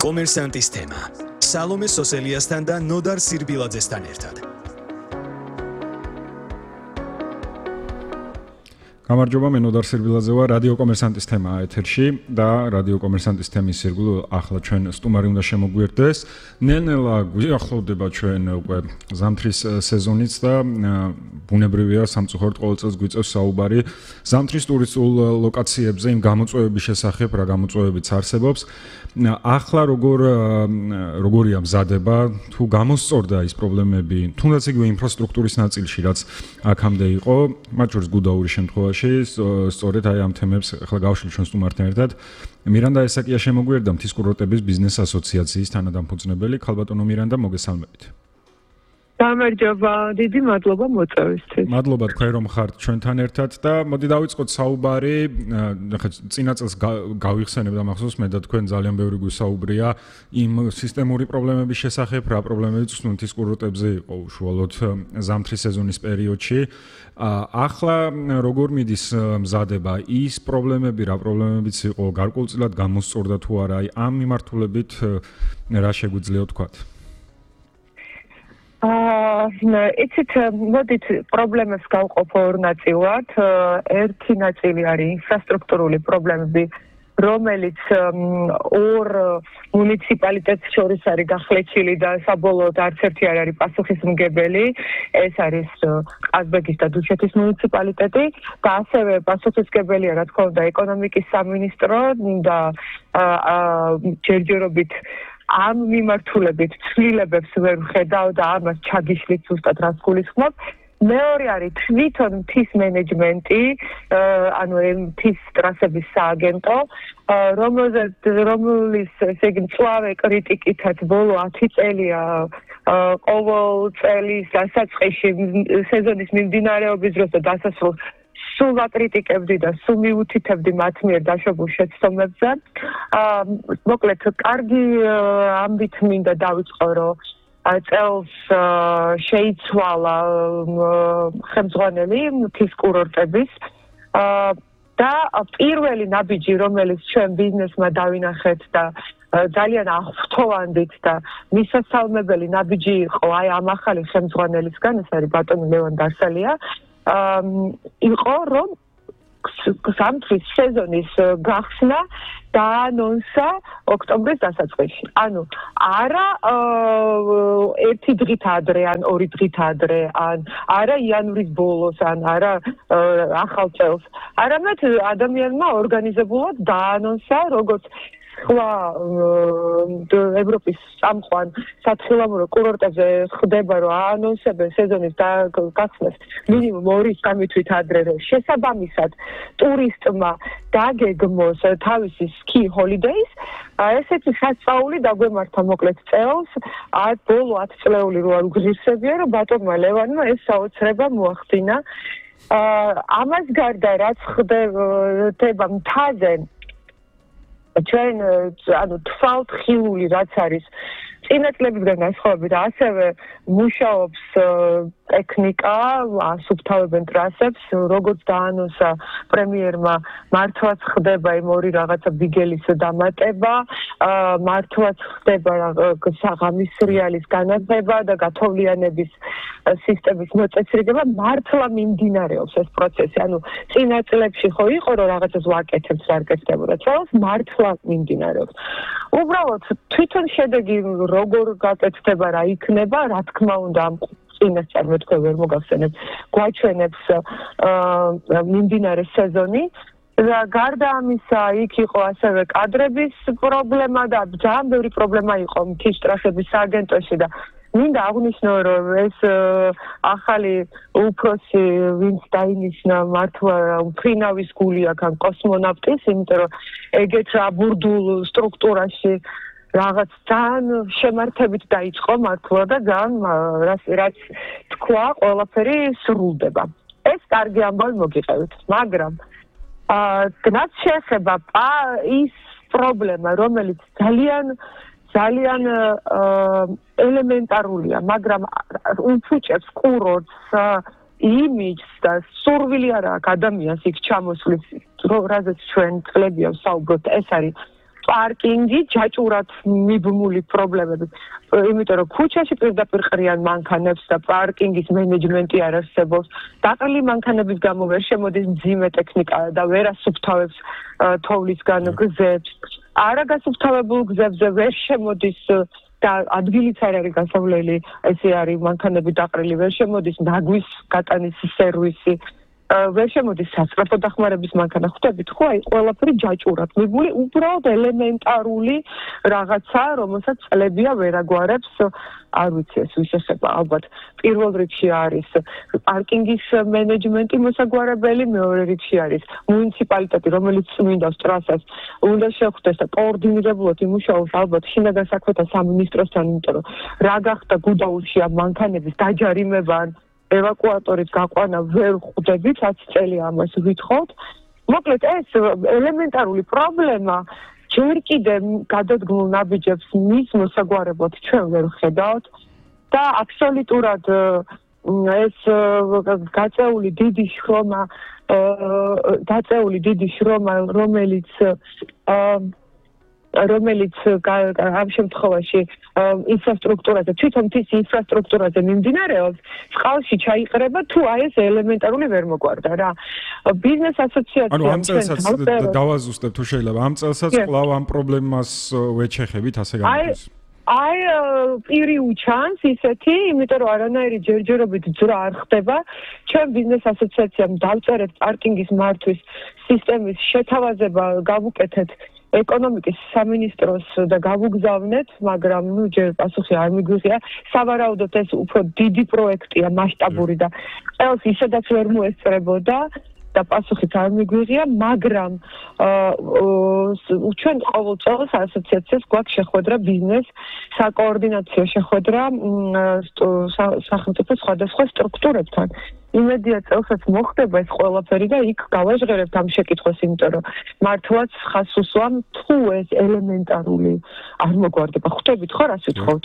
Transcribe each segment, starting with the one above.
კომერსანტის თემა. სალომე სოსელიასთან და ნოდარ სირბილაძესთან ერთად. გამარჯობა, მე ნოდარ სირბილაძე ვარ, რადიო კომერსანტის თემაა ეთერში და რადიო კომერსანტის თემის ირგვლივ ახლა ჩვენ სტუმარი უნდა შემოგვიერთდეს. ნელ-ნელა გვიახლოვდება ჩვენ უკვე ზამთრის სეზონიც და ბუნებრივია სამწუხაროდ ყოველ წელს გვიწევს საუბარი ზამთრის ტურისტულ ლოკაციებზე, იმ გამოწვევების შესახებ, რა გამოწვევებიც არსებობს. ახლა როგორია მზადება, თუ გამოსწორდა ის პრობლემები, თუნდაც იგივე ინფრასტრუქტურის ნაწილში, რაც აქამდე იყო, მათ შორის გუდაურის შემთხვევაში, სწორედ აი ამ თემებს ახლა გავშლით ჩვენ სტუმართან ერთად. მირანდა ესაკია შემოგვიერთდა მთის კურორტების ბიზნეს ასოციაციის თანადამფუძნებელი. ხალბატონო მირანდა, მოგესალმებით. გამარჯობა, დიდი მადლობა მოწვევისთვის. მადლობა თქვენ რომ ხართ ჩვენთან ერთად და მოდი დავიწყოთ საუბარი. ახლა წინა წელს გავიხსენებ და მახსოვს მე და თქვენ ძალიან ბევრი გვისაუბრია იმ სისტემური პრობლემების შესახებ, რა პრობლემებიც მთის კურორტებზე იყო უშუალოდ ზამთრის სეზონის პერიოდში. ახლა როგორ მიდის მზადება ის პრობლემები, რა პრობლემებიც იყო, გარკვეულწილად გამოსწორდა თუ არა, აი ამ მიმართულებით რა შეგვიძლია თქვათ? იცით, მოდით პრობლემებს გავყოფ ორ ნაწილად. ერთი ნაწილი არის ინფრასტრუქტურული პრობლემები, რომელიც ორ მუნიციპალიტეტს შორის არის გახლეჩილი და საბოლოოდ არც ერთი არ არის პასუხისმგებელი. ეს არის ყაზბეგის და დუშეთის მუნიციპალიტეტი და ასევე პასუხისმგებელია, რა თქმა უნდა, ეკონომიკის სამინისტრო და ჯერჯერობით ამ მიმართულებით ცვლილებებს ვერ ვხედავ და ამას ჩაგიშლით ზუსტად რას გულისხმობ. მეორე არის თვითონ მთის მენეჯმენტი, ანუ მთის ტრასების სააგენტო, რომლის ესე იგი მწვავე კრიტიკითაც ბოლო 10 წელია ყოველ წლის დასაწყისში სეზონის მიმდინარეობის დროს და დასასრულს სულ აკრიტიკებდი და სულ მიუთითებდი მათ მიერ დაშვებულ შეცდომებზე. მოკლედ, კარგი ამბით მინდა დავიწყო, რომ წელს შეიცვალა ხელმძღვანელი მთის კურორტების და პირველი ნაბიჯი, რომელიც ჩვენ ბიზნესმა დავინახეთ და ძალიან აღფრთოვანდით და მისასალმებელი ნაბიჯი იყო აი ამ ახალი ხელმძღვანელისგან, ეს არის ბატონი ლევან დარსალია. იყო რომ ზამთრის სეზონის გახსნა დაანონსა ოქტომბრის დასაწყისში. ანუ არა ერთი დღით ადრე, ან ორი დღით ადრე, ან არა იანვრის ბოლოს, ან არა ახალ წელს. არამედ ადამიანმა ორგანიზებულად დაანონსა, როგორც სხვა ევროპის წამყვან სათხილამურო კურორტებზე ხდება, რომ აანონსებენ სეზონის გახსნას მინიმუმ 2-3 თვით ადრე, რომ შესაბამისად ტურისტმა დაგეგმოს თავისი ski holidays. ესეთი სასწაული დაგვემართა მოკლედ წელს, ბოლო 10 წლეული რო არ უგზირსებია, რომ ბატონმა ლევანმა ეს საოცრება მოახდინა. ამას გარდა რაც ხდება მთაზე, ჩვენ ანუ თვალთხილული რაც არის წინა წლებიდან განსხვავებით, ასევე მუშაობს ტექნიკა, ასუფთავებენ ტრასებს, როგორც დაანონსა პრემიერმა, მართლაც ხდება იმ ორი რაღაცა ბიგელის დამატება, მართლაც ხდება საღამის რეალის განათება და გათოვლიანების სისტემის მოწესრიგება, მართლა მიმდინარეობს ეს პროცესი. ანუ წინა წლებში ხო იყო რომ რაღაცას ვაკეთებთ, არ კეთდებოდა. წელს მართლა მიმდინარეობს. უბრალოდ თვითონ შედეგი როგორ გაკეთდება, რა იქნება, რა თქმა უნდა ამ წინას წარმოთქვე ვერ მოგახსენებ, გვაჩვენებს მიმდინარე სეზონი. გარდა ამისა, იქ იყო ასევე კადრების პრობლემა და ძალიან ბევრი პრობლემა იყო მთის ტრასების სააგენტოში და მინდა აღნიშნო, რომ ეს ახალი უფროსი, ვინც დაინიშნა, მართლა მფრინავის გული აქვს ამ კოსმონავტის, იმიტომ რომ ეგეთ აბურდულ სტრუქტურაში რაღაც ძალიან შემართებით დაიწყო მართლა და ძალიან რაც თქვა, ყველაფერი სრულდება. ეს კარგი ამბავი მოგიყევით, მაგრამ რაც შეეხება ის პრობლემა, რომელიც ძალიან ელემენტარულია, მაგრამ უფუჭებს კურორტს, იმიჯს და სურვილი არ აქვს ადამიანს იქ ჩამოსვლის, რაზეც ჩვენ წლებია ვსაუბრობთ, ეს არის პარკინგი ჯაჭურად მიბმული პრობლემები. იმიტომ რომ ქუჩაში პირდაპირ ყრიან მანქანებს და პარკინგის მენეჯმენტი არ არსებობს. დაყრილი მანქანების გამო ვერ შემოდის მძიმე ტექნიკა და ვერ ასუფთავებს თოვლისგან გზებს. არაგასუფთავებულ გზებზე ვერ შემოდის და ადგილიც არ არის გასავლელი, ესე არის მანქანები დაყრილი, ვერ შემოდის ნაგვის გატანის სერვისი. ვერ შემოდის სასწრაფო დახმარების მანქანა. ხვდებით ხო? აი ყველაფერი ჯაჭურად მიბმული, უბრალოდ ელემენტარული რაღაცა, რომელსაც წლებია ვერ აგვარებს. არ ვიცი ეს ვისახება, ალბათ პირველ რიგში არის პარკინგის მენეჯმენტი მოსაგვარებელი, მეორე რიგში არის მუნიციპალიტეტი, რომელიც წმინდავს ტრასას, უნდა შეხვდეს და კოორდინირებულად იმუშაოს ალბათ შინაგან საქმეთა სამინისტროსთან, იმიტომ რომ რა გახდა გუდაუთში ამ მანქანების დაჯარიმება ან ევაკუატორით გაყვანა ვერ ხვდებით, 10 წელი ამას ვითხოვთ. მოკლედ ეს ელემენტარული პრობლემა ჯერ კიდე გადადგმულ ნაბიჯებს მის მოსაგვარებლად ჩვენ ვერ ხედავთ და აბსოლუტურად ეს გაწეული დიდი შრომა, რომელიც ამ შემთხვევაში ინფრასტრუქტურაზე, თვითონ ის ინფრასტრუქტურაზე მიმდინარეობს, წყალში ჩაიყრება თუ აი ეს ელემენტარული ვერ მოგვარდა რა. ბიზნეს ასოციაციამ ანუ ამ წელსაც დავაზუსტებ თუ შეიძლება. ამ წელსაც კვლავ ამ პრობლემას ვეჩეხებით, ასე გამოდის. აი პირი უჩანს ისეთი, იმიტომ რომ არანაირი ჯერჯერობით ძრა არ ხდება. ჩვენ ბიზნეს ასოციაციამ დავწერეთ პარკინგის მართვის სისტემის შეთავაზება, გავუკეთეთ ეკონომიკის სამინისტროს და გავუგზავნეთ, მაგრამ ჯერ პასუხი არ მიგვიღია. სავარაუდოდ ეს უფრო დიდი პროექტია, მასშტაბური და წელს ისედაც ვერ მოესწრებოდა და პასუხიც არ მიგვიღია, მაგრამ ჩვენ ყოველ წელს ასოციაციას გვაქვს შეხვედრა ბიზნეს საკოორდინაციო შეხვედრა სახელმწიფოს სხვადასხვა სტრუქტურებთან. იმედია წელსაც მოხდება ეს ყველაფერი და იქ გავაჟღერებთ ამ შეკითხვას, იმიტომ რომ მართლაც ხას უსვამ თუ ეს ელემენტარული არ მოგვარდება. ხვდებით ხო რას ვიტყობთ?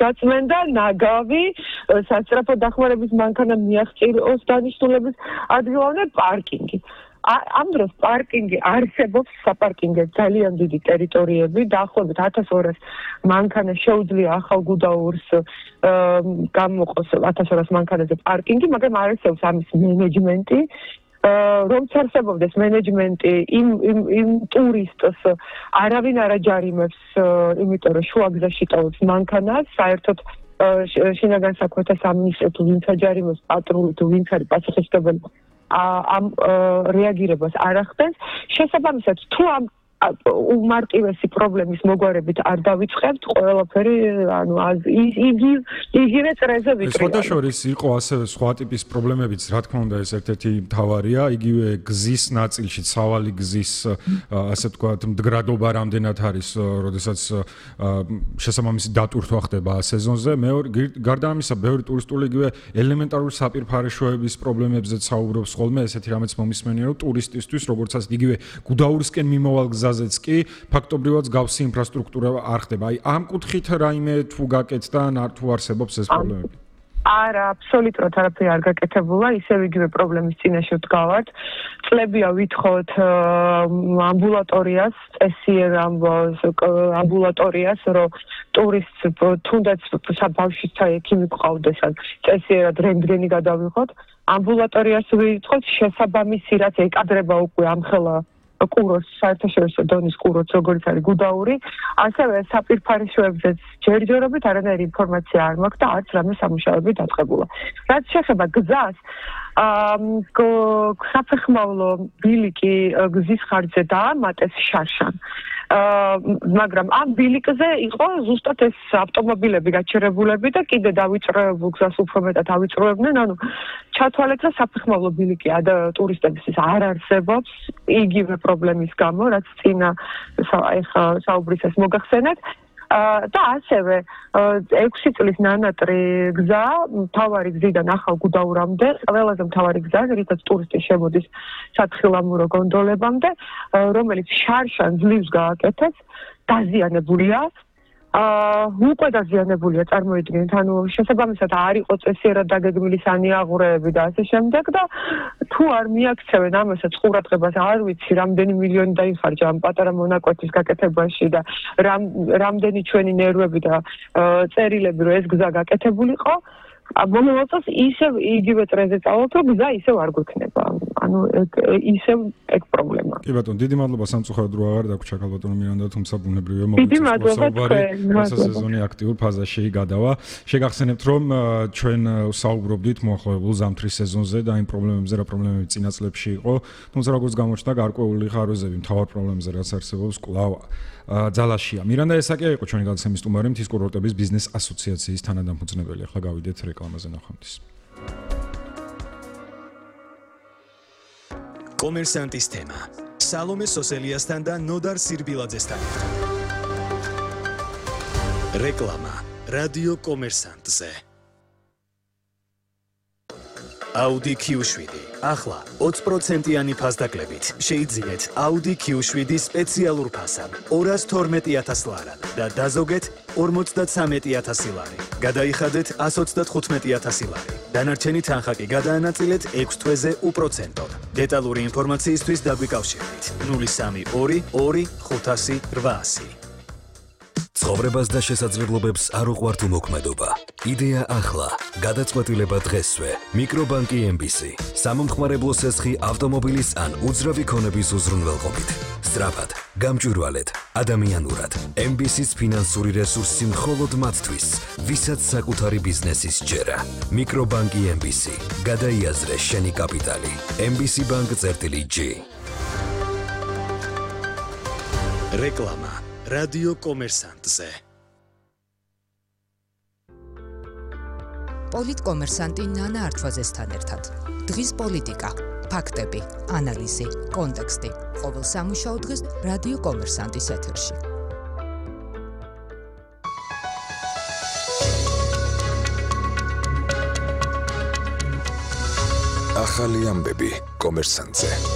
გაწმენდა ნაგავი, სასწრაფო დახმარების მანქანა მიაღწიოს დანიშნულების ადგილამდე პარკინგი. ამ დროს პარკინგი არსებობს, საპარკინგო ძალიან დიდი ტერიტორიები, დაახლოებით 1200 მანქანა შეუძლია ახალ გუდაურს გამოყოს 1200 მანქანაზე პარკინგი, მაგრამ არ არსებობს ამის მენეჯმენტი. რომც არსებობდეს მენეჯმენტი იმ ტურისტს არავინ არ აჯარიმებს, იმიტომ რომ შუაგზაში ტოვებს მანქანას, საერთოდ შინაგან საქმეთა სამინისტრო თუ ვინც აჯარიმებს, პატრული თუ ვინც არის პასუხისმგებელი ამ რეაგირებას არ ახდენს. შესაბამისად, თუ ამ უმარტივესი პრობლემის მოგვარებით არ დავიწყებთ, ყველაფერი, ანუ იგივე წრეზე ვიკრიბებთ. სხვა შორის იყო ასევე სხვა ტიპის პრობლემებიც, რა თქმა უნდა, ეს ერთ-ერთი მთავარია, იგივე გზის ნაწილში, სავალი გზის, ასე ვთქვათ, მდგრადობა რამდენად არის, როდესაც შესაბამისი დატვირთვა ხდება სეზონზე. გარდა ამისა, ბევრი ტურისტული იგივე ელემენტარული საპირფარეშოების პრობლემებზეც საუბრობს ხოლმე, ესეთი რამეც მომისმენია, რომ ტურისტისთვის, როგორც ასე იგივე გუდაურისკენ მიმოვალ გზაზეც კი ფაქტობრივად გავსი ინფრასტრუქტურა არ ხდება. აი ამ კუთხით რაიმე თუ გაკეთდა ან თუ არსებობს ეს პრობლემები? არა, აბსოლუტურად არაფერი არ გაკეთებულა, ისევ იგივე პრობლემის წინაშე ვდგავართ. წლებია ვითხოვთ ამბულატორიას, წესიერ ამბულატორიას, რომ ტურისტს თუნდაც ბავშვთა ექიმი გყავდეს, ან წესიერად რენტგენი გადავიღოთ. ამბულატორიას ვითხოვთ, შესაბამისი რაც ეკადრება უკვე ამხელა კურორტს, საერთაშორისო დონის კურორტს, როგორც არის გუდაური, ასევე საფირფარეშოებზეც ჯერჯერობით არანაირი ინფორმაცია არ მაქვს და არც რამე სამუშაოები დაწყებულა. რაც შეეხება გზას, საფეხმავლო ბილიკი გზის ხარჯზე დაამატეს შარშან. მაგრამ ამ ბილიკზე იყო ზუსტად ეს ავტომობილები გაჩერებულები და კიდე დავიწროებულ გზას უფრო მეტად ავიწროებდნენ, ანუ ჩათვალეთ, რომ საფეხმავლო ბილიკი ტურისტებისთვის არ არსებობს იგივე პრობლემის გამო, რაც წინა ეხა საუბრისას მოგახსენეთ. და ასევე 6 წლის ნანატრი გზა, მთავარი გზიდან ახალ გუდაურამდე, ყველაზე მთავარი გზა, რითაც ტურისტი შემოდის სათხილამურო გონდოლებამდე, რომელიც შარშან ძლივს გააკეთეს, დაზიანებულია. უკვე დაზიანებულია, წარმოიდგინეთ, ანუ შესაბამისად არ იყო წესიერად დაგეგმილი სანიაღურეები და ასე შემდეგ და თუ არ მიაქცევენ ამასაც ყურადღებას, არ ვიცი, რამდენი მილიონი დაიხარჯა ამ პატარა მონაკვეთის გაკეთებაში და რამდენი ჩვენი ნერვები და წერილები რომ ეს გზა გაკეთებულიყო, მომავალ წელს ისევ იგივე წრეზე წავალთ, რომ გზა ისევ არ გვექნება. ანუ ისევ ეგ პრობლემაა. კი ბატონო, დიდი მადლობა სამწუხაროდ რომ აღარ დაგვრჩა ქალბატონო მირანდა, თუმცა ბუნებრივია დიდი მადლობა თქვენ. სეზონი აქტიურ ფაზაში გადავა. შეგახსენებთ რომ ჩვენ საუბრობდით მოახლოებულ ზამთრის სეზონზე და იმ პრობლემებზე, რა პრობლემები წინა წლებში იყო, თუმცა როგორც გამოჩნდა, გარკვეული ხარვეზები მთავარ პრობლემებზე რაც არსებობს კვლავ ძალაშია. მირანდა ესაკია იყო ჩვენი გადაცემის სტუმარი, მთის კურორტების ბიზნეს ასოციაციის თანადამფუძნებელი. ახლა გავიდეთ რეკლამაზე ნახვამდის. კომერსანტის თემა. სალომე სოსელიასთან და ნოდარ სირბილაძესთან. რეკლამა. რადიო კომერსანტზე. Audi Q7. ახლა 20%-იანი ფასდაკლებით შეიძინეთ Audi Q7 სპეციალურ ფასად 212,000 ლარად და დაზოგეთ 53,000 ლარი. გადაიხადეთ 135,000 ლარი. დანარჩენი თანხა კი გადაანაწილეთ 6 თვეზე უპროცენტოდ. დეტალური ინფორმაციისთვის დაგვიკავშირდით 032 2 500 800. ცხოვრებას და შესაძლებლობებს არ უყვართ უმოქმედობა. იდეა ახლა, გადაწყვეტილება დღესვე. მიკრობანკი MBC. სამომხმარებლო სესხი ავტომობილის ან უძრავი ქონების უზრუნველყოფით. სწრაფად, გამჭვირვალედ, ადამიანურად. MBC-ს ფინანსური რესურსი მხოლოდ მათთვის, ვისაც საკუთარი ბიზნესის ჯერა. მიკრობანკი MBC. გადაიაზრე შენი კაპიტალი. MBC Bank-G. რეკლამა. რადიო კომერსანტზე. პოლიტკომერსანტი ნანა არჩვაძესთან ერთად. დღის პოლიტიკა, ფაქტები, ანალიზი, კონტექსტი. ყოველ სამუშაო დღეს რადიო კომერსანტის ეთერში. ახალი ამბები კომერსანტზე.